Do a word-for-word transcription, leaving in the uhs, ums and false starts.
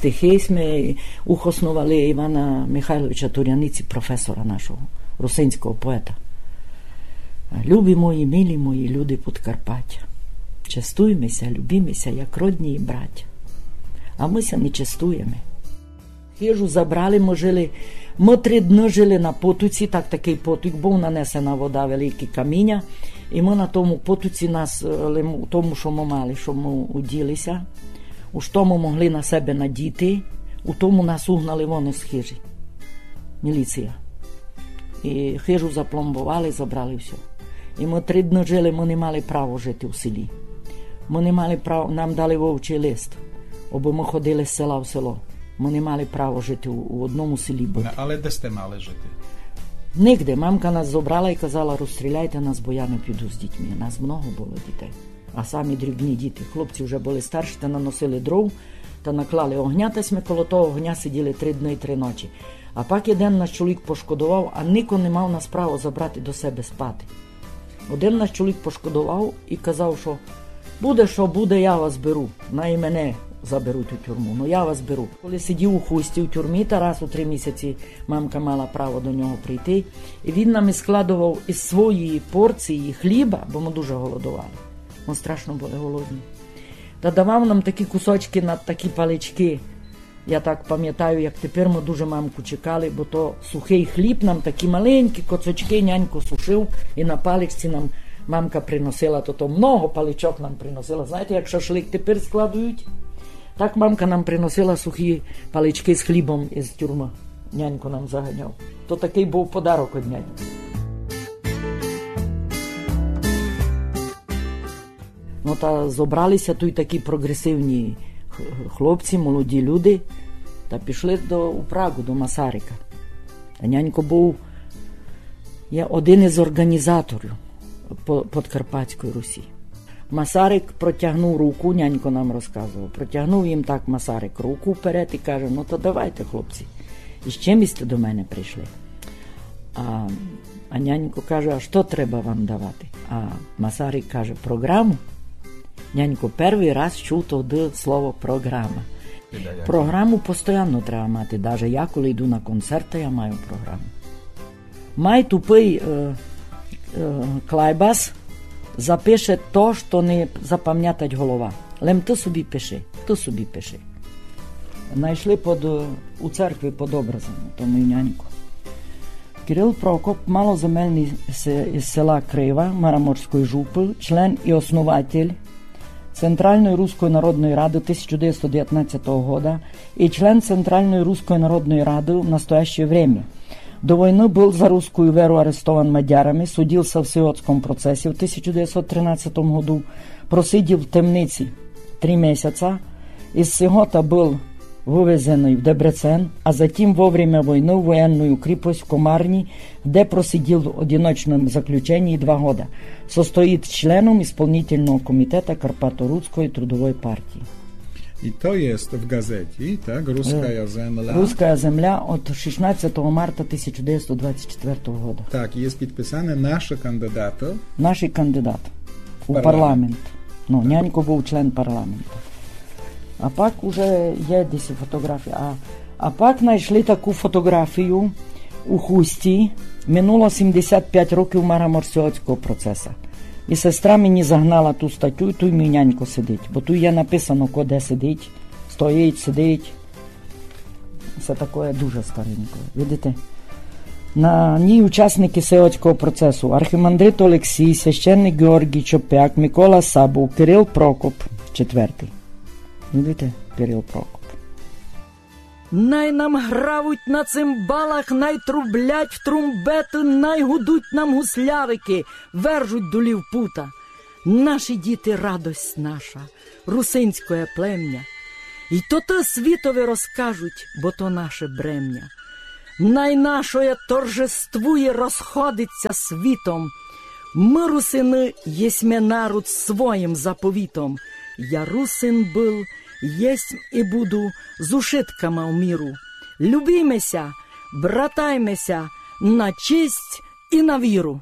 Стихи сьме ухосновали Івана Михайловича Туряниці, професора нашого, русинського поета. Любі мої, милі мої люди Подкарпаття, честуйме ся, любіме ся, як родні братя. А мы ся не честуєме. Хижу забрали, мы жили, мы три дни жили на потоці, так такый потік быв, нанесена вода, великі каміня. І мы на тому потоці нас, е, лим-, у тому, што мы мали, што мы уділи ся, у што мы могли на себе надіти, у тому нас угнали вон із хижі. Міліція. І хижу запломбовали, забрали всьо. І мы три дни жили, мы не мали право жити у селі. Мы не мали право, нам дали вовчий лист, обы мы ходили з села в село. Мы не мали право жити у, у одному селі быти. Ну, але де сьте мали жити? Нигде. Мамка нас забрала і казала: «Розстріляйте нас, бо я не піду з дітьми». Нас много было дітей. А самі дрібні діти. Хлопці вже были старші, та наносили дров, та наклали огня, та сьме коло того огня сиділи три дни і три ночі. А пак єден наш чоловік пошкодовав, а нико не мав нас право забрати до себе спати. Один наш чоловік пошкодовав і казав, што буде, што буде, я вас беру. Най мене заберуть у тюрму, но я вас беру. Коли сидів у Хусті в тюрмі, та раз у три місяці мамка мала право до нього прийти, і він нам і складовав із своєї порції хліба, бо мы дуже голодовали. Мы страшно были голодні. Та давав нам такі кусочки на такі палички. Я так памятаю, як тепер, мы дуже мамку чекали, бо то сухый хліб, нам такі маленькі коцочки нянько сушив, і на паличці нам мамка приносила, то, то много паличок нам приносила. Знаєте, як шашлик тепер складують? Так мамка нам приносила сухі палички з хлібом із тюрмы. Нянько нам заганяв. То такый быв подарок од няньки. Ну, та зобрали ся туй такі прогресивні х-, хлопці, молоді люди, та пішли до, у Прагу, до Масарика. А нянько быв, є один із орґанізаторів по-, Подкарпатської Русі. Масарик протягнув руку, нянько нам розказовав, протягнув їм так Масарик руку вперед і каже: «Ну, то давайте, хлопці, і з чим сьте до мене прийшли?» А, а нянько каже: «А што треба вам давати?» А Масарик каже: «Програму». Нянько первый раз чув тогды слово «програма». Програму постоянно треба мати. Даже я, коли йду на концерт, то я маю програму. Май тупый, е, е, клайбас запише то, што не запамнятать голова. Лем ты собі пиши, ты собі пиши. Найшли под, е, у церкви под образом, то мій нянько. Кирил Прокоп, малоземельный се-, из села Крива Мараморської жупы, член і основатель Центральної Руської народної рады тисяча девятсот девятнадцятого года і член Центральної Руської народної рады в настоящее время. До войны был за русскую веру арестован мадярами, судился в Сиотском процесе в тисяча девятсот тринадцятом году, просидів в темниці три месяца, из Сиота был вывезеный в Дебрецен, а затем во время войны в военную крепость в Комарни, где просидел в одиночном заключении два года. Состоит членом исполнительного комитета Карпаторусской трудовой партии. I to jest w gazecie, tak? Ruskaja Zemlja. Руская земля од шістнадцятого марта тисяча девятсот двадцять четвертого года. Tak, jest podpisane nasze kandydaty. Нашый кандидат у парламент. Ну, нянько быв член парламенту. А пак уже є десь фотографія. А, а пак найшли таку фотографію у Хусті. Минуло сімдесят пять років Мараморського процеса. І сестра мені загнала ту статтю, і туй мій нянько сидить. Бо туй є написано, ко де сидить, стоїть, сидить. Всьо такоє дуже стареньке. Видите? На ній учасники Сиотського процесу: архімандрит Олексій, священник Георгій Чопяк, Микола Сабов, Кирил Прокоп четвертый. Видите? Кирил Прокоп. Най нам гравуть на цимбалах, най трублять в трумбеты, най гудуть нам гуслярики, вержуть долі в пута. Наші діти — радость наша, русинськоє племня. Й то ты світови розкажуть, бо то наше бремня. Най нашоє торжествує, розходить ся світом. Мы, русины, єсьме народ своїм заповітом. Я русин был, єсмь і буду, з ушытками в міру. Любіме ся, братайме ся на честь і на віру.